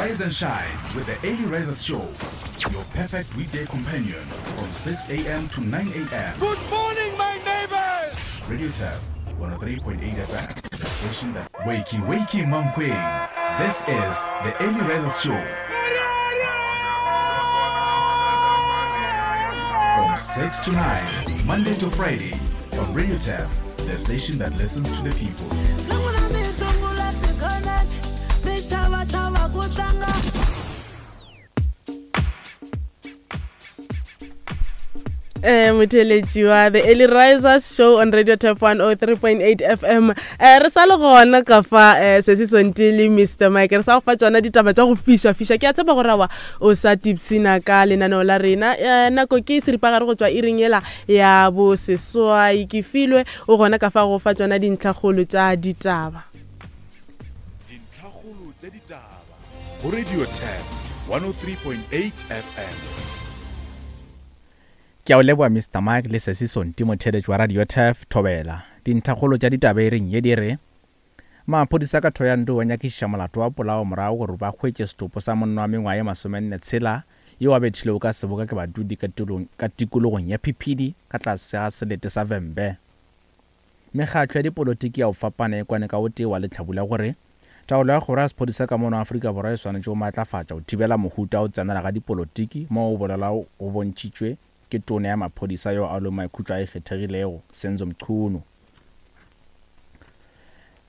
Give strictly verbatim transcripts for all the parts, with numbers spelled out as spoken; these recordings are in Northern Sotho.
Rise and shine with the Early Risers Show, your perfect weekday companion from six a m to nine a m. Good morning, my neighbors! Radio Turf one oh three point eight F M, the station that wakey wakey Mankweng. This is the Early Risers Show. From six to nine, Monday to Friday, on Radio Turf, the station that listens to the people. Eh, motheletši wa The Early Risers Show on Radio Turf one oh three point eight F M. Eh, re sa le gona ka fa, eh, se se Sonti le Mister Mike. Re sa go fa tsona ditaba tša go fiša fiša. Ke a tshepa gore awa o sa tipsina ka lenaneo la rena. Eh, nako ke seripagare go tšwa iring ela ya bo seswai. Ke filwe o gona ka fa go fa tsona dintlhakgolo tša ditaba. Dintlhakgolo tša ditaba go Radio Turf one oh three point eight F M. Ke a o leboha Mister Mike le Sesi Sonti motheletši wa Radio Turf Thobela. Dintlhakgolo tša ditaba e reng ye di re maphodisa ka Thohoyandou ba nyakišiša molato wa polao morago gore ba hwetše setopo sa monna wa mengwaga ye masomenne tshela yo a bethilego ka seboka ke badudi ka tulong, ka tikologong ya Phiphidi ka tlase ga selete sa Vhembe. Mekgatlo ya dipolotiki ya go fapana e kwane ka o tee wa lehlabula gore taolo ya kgoro ya sephodisa ka mono Afrika Borwa e swanetše go matlafatša go thibela mohuta wa go tsenela ga dipolotiki mo go bolelwago go bontšhitšwe ke tona ya maphodisa yo a lego maikhutšo a ikgethegilego Senzo Mchunu.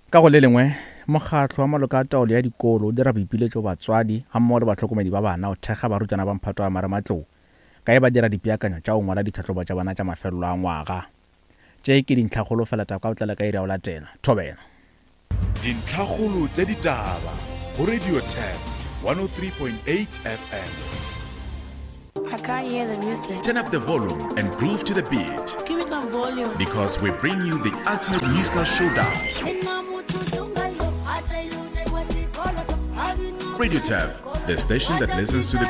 Ka go le lengwe, mokgatlo wa maloko a taolo ya dikolo o dira boipiletšo go batswadi gammogo le bahlokomedi ba bana go thekga barutwana ba mphato wa marematlou ka e ba dira dipeakanyo tša go ngwala ditlhahlobo tša bona tša mafelelo a ngwaga. Tše ke dintlhakgolo fela taba ka go tlela ka iri ya go latela. Thobela. Dintlhakgolo tša ditaba go Radio Turf one oh three point eight F M. I can't hear the music. Turn up the volume and groove to the beat. Give me some volume. Because we bring you the ultimate musical showdown. Radio Turf, the station that listens to the